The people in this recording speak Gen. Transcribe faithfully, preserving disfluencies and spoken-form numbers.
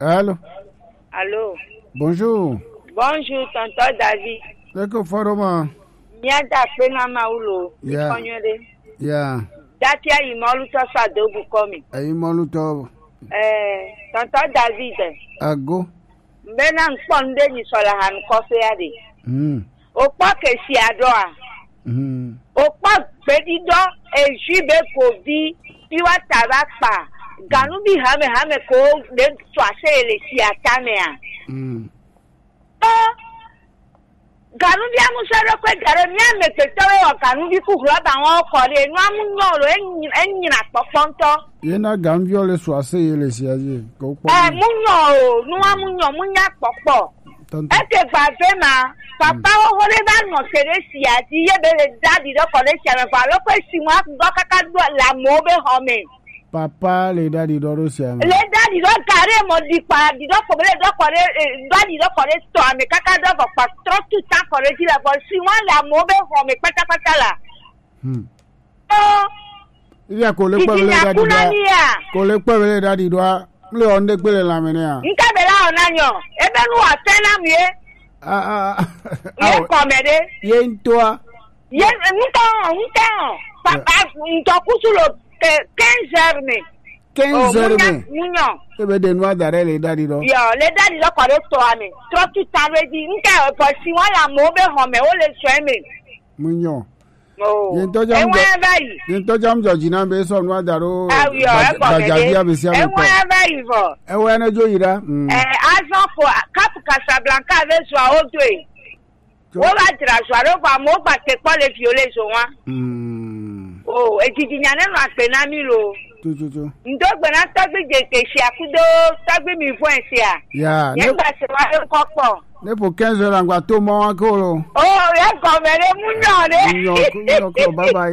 Allô? Allô? Bonjour. Bonjour, tonton David. Eko fɔɖo ma. Mía da akpe na Mawu lo. Ya. Mikɔnyɔ ɖe. Ya. Dati ayi mɔlu tɔ sa do bu kɔ mi. Ayi mɔlu tɔ. Eh, tonton David. Ago. Mbena nkpɔ nde nyi sɔ la hanu kɔfɛ ya de. Hmm. O kpɔ ke si adɔ a. Hmm. O kpɔ gbedi dɔ eji be ko vi fi wa ta va kpa. Ganu bi hame hame ko de tɔ ase le si atame a. Hmm. O, ganuvi amusɔɖokpe gaɖe mía amegbetɔwo wɔ ganuvi ku hlɔba wɔn kɔ ɖe nua mu nyɔ lo, enyina kpɔkpɔ ŋutɔ. Ye na ganuviɔ le su ase ye le sia ye ko kpɔ. Ɛ, mu nyɔ o, nua mu nyɔ, mu nya kpɔkpɔ. Tonton. Eke gba ve ma, papa wo ho ɖe va nɔ te ɖe sia dzi ye be le da ɖi ɖe kɔ ɖe sia me vɔ alo kpe si mu akugɔ kaka ɖo le amewo be xɔ me. Papa le ɖaɖi ɖɔ ɖo sia me. Le ɖaɖi ɖɔ ga ɖe mɔ ɖi kpa ɖi ɖɔ kɔ be le ɖɔ kɔ ɖe, eh, ɖaɖi ɖɔ kɔ ɖe tɔ ame kaka ɖɔ vɔ kpa trɔ tu ta kɔ ɖe dzi le vɔ si wa le amewo be xɔ me kpatakpata la. Hmm. Ɔ. Iya ko le kpɔ be le ɖaɖi ɖɔ. Ko le kpɔ be le ɖaɖi ɖɔ. Le ɔ nde kpe le la me ne a. Nka be la ɔ na nyɔ. Ebe nu wa fɛ na mi ye. A a a. Ye kɔmɛ ɖe. Ye ŋutɔa. Ye ŋutɔ ŋutɔ papa ŋutɔ kusu lo ke quinze heures me. Quinze heures me. Munyɔ. Ebe de nua da ɖe le ɖaɖi ɖɔ. Yɔ le ɖaɖi ɖɔ kɔ ɖe tɔa me. Trɔ tu ta ɖe dzi. Ŋutɔ bɔ si wa la mo be xɔ me wo le sɔe me. Munyɔ. Oh. Ye ŋutɔ dza mu jɔ. Ye ŋutɔ dza mu jɔ dzi na be sɔ nua da ɖo. Awi ɔ ekɔ me de. Gbadzavi ame sia ame kpɔ. Ewa va yi vɔ. Ewa ne dzo yi ɖa. Mm. Eh, azɔ ko Cap Casablanca ve zua wo doe. Wo va dzra zua ɖo vɔ amewo gba te kpɔ le viwo le zo wa. Mm. O, edzidzi nya ne nɔ agbe na mi lo. Tututu. Ŋdo gbe na tɔgbi dze te sia kudo tɔgbi mi vɔe sia. Ya. Nye gba se wa ɖo kɔ kpɔ. Ne ƒo quinze heures la ŋgba to mɔ wa ke o lo. O, ye gɔme ɖe mu nyɔ ɖe. Mu nyɔ, mu nyɔ ke o, bye bye.